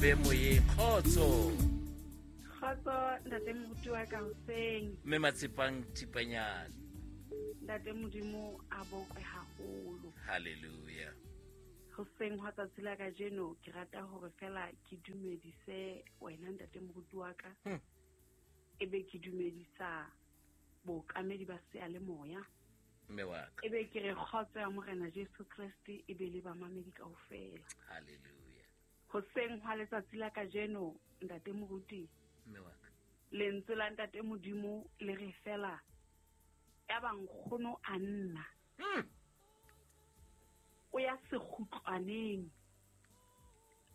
Mme moyeng, kgotso. Kgotso ntate moruti wa ka hoseng. Mme Matshepang Thipanyane. Ntate Modimo a bokwe haholo. Hallelujah. Hoseng hwa tsatsi la kajeno ke rata hore fela ke dumedise wena ntate moruti wa ka. Ebe ke dumedisa bookamedi ba seyalemoya. Mme wa ka. Ebe ke re kgotso ya Morena Jesu Kreste e be le bamamedi kaofela. Hallelujah. Hoseng hwa letsatsi la kajeno ntate moruti. Mme wa ka. Lentswe la ntate Modimo le re fela ya ba nkgono a nna. O ya sekgutlwaneng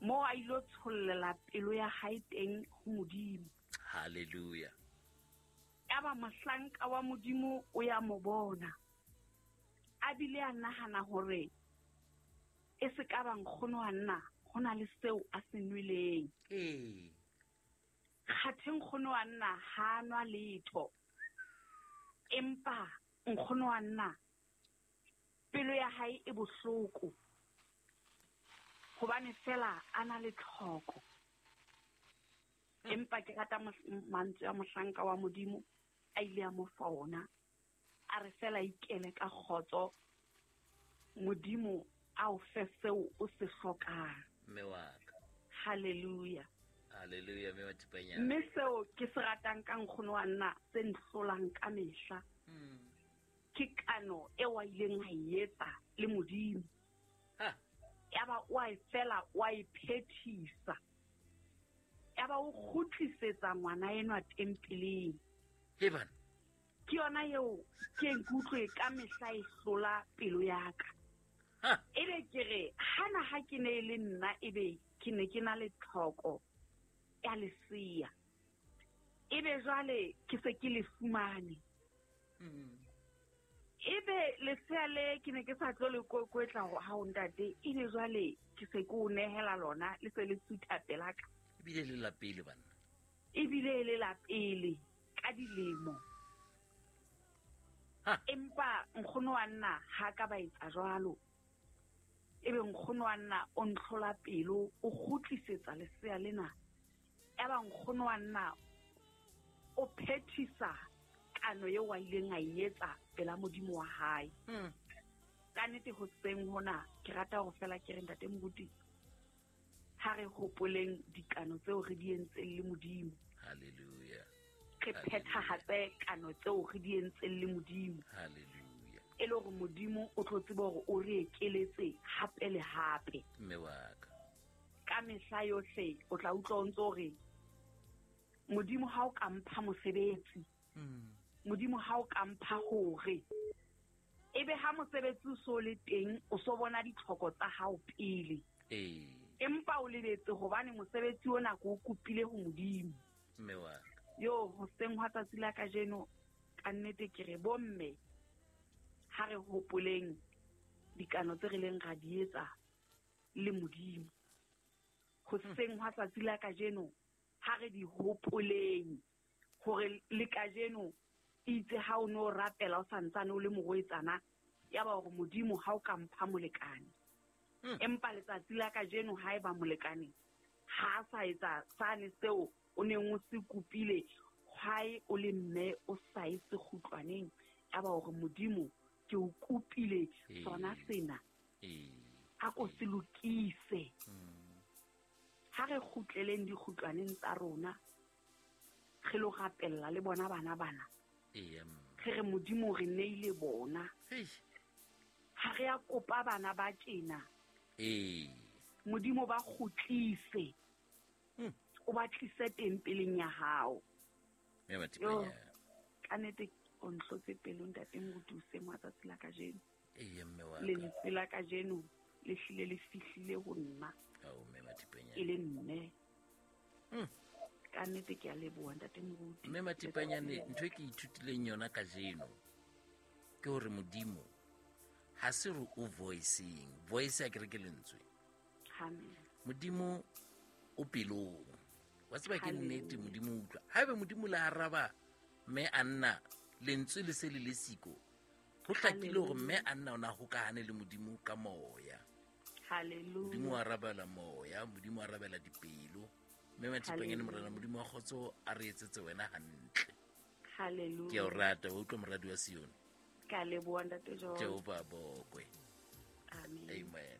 moo a ilo tshollela pelo ya hae teng ho Modimo. Hallelujah. Ya ba mohlanka wa Modimo o ya mo bona. A bile a nahana hore e se ka ba nkgono wa nna ho na le seo a se nweleng. Kgathe nkgono wa nna ha nwa letho. Empa nkgono wa nna pelo ya hae e bohloko hobane fela a na le tlhoko. Empa ke rata mantswe a mohlanka wa Modimo a ile a mo fa ona. A re fela ikele ka kgotso, Modimo a o fe seo o se hlokang. Mme wa ka. Hallelujah. Hallelujah, mme wa Thipanyane. Mme seo ke se ratang ka nkgono wa nna se nhlolang ka mehla. Ke kano eo a ileng a e etsa le Modimo. Yaba o a e fela, o a e phethisa. Yaba o kgutlisetsa ngwana enwa tempeleng. He bana. Ke yona eo ke nkutlwe ka mehla e hlola pelo ya ka. Ebe ke re hana ha ke ne e le nna ebe ke ne ke na le tlhoko ya lesea. Ebe jwale ke se ke le fumane. Ebe lesea le ke ne ke sa tlo le kokwetla ho ha o ntate, ebe jwale ke se ke o nehela lona le se le sutha pela ka. Ebile le la pele banna. Ebile le la pele ka dilemo. Empa nkgono wa nna ha ka ba etsa jwalo. Ebe nkgono wa nna o ntlhola pelo, o kgutlisetsa lesea lena. Eba nkgono wa nna o phethisa kano eo a ileng a e etsa pela Modimo wa hae. Ka nnete hoseng hona ke rata hore fela ke re ntate moruti, ha re hopoleng dikano tseo re di entseng le Modimo. Hallelujah. Re phethahatse kano tseo re di entseng le Modimo. Hallelujah. E le hore Modimo o tlo tseba hore o re ekeletse hape le hape. Mme wa ka. Ka mehla yohle o tla utlwa o ntso re Modimo ha o ka mpha mosebetsi. Modimo ha o ka mpha hore. Ebe ha mosebetsi o so le teng, o so bona ditlhoko tsa hao pele. Empa o lebetse hobane mosebetsi ona ke o kopile ho Modimo. Mme wa ka. Yo, hoseng hwa tsatsi la kajeno, ka nnete ke re bomme, ha re hopoleng dikano tse re leng ra di etsa le Modimo. Hoseng hwa tsatsi la kajeno, ha re di hopoleng hore le kajeno itse ha o no rapela o santsane o le morwetsana, ya ba hore Modimo ha o ka mpha molekane. Empa letsatsi la kajeno ha eba molekane ha a sa etsa sane seo o neng o se kopile, hwae o le mme o sa e sekgutlwaneng, ya ba hore Modimo ke o kopile sona sena. A ko se lokise. Ha re kgutleleng dikgutlwaneng tsa rona, re lo rapella le bona bana bana. Re re Modimo re neile bona. Ha re a kopa bana ba tjena. Modimo ba kgutlise. O ba tlise tempeleng ya hao. Mme Matipanya. Yo, ka nnete o nhlotse pelo ntate moruti hoseng wa tsatsi la kajeno. Eya, mme wa ka. Lentswe la kajeno le hlile le fihlile ho nna. Ao, mme Matipanya. E le mme. Ka nnete ke a leboha ntate moruti. Mme Matipanyane, ntho e ke ithutileng yona kajeno ke hore Modimo ha se re o voicing. Voice ya kereke lentswe. Amen. Modimo o pelong. Wa tseba ke Hallelujah. nnete Modimo o utlwa. Haebe Modimo le araba mme a nna lentswe le se le le siko, ho hlakile hore mme a nna o na hokahane le Modimo ka moya. Modimo o arabela moya, Modimo o arabela dipelo. Mme Mathipanyane, Morena Modimo wa kgotso a re etsetse wena hantle. Hallelujah. Ke a o rata, wa utlwa moradi wa Sione. Ka leboha, Ntate John. Jehova a bokwe. Amen. Amen.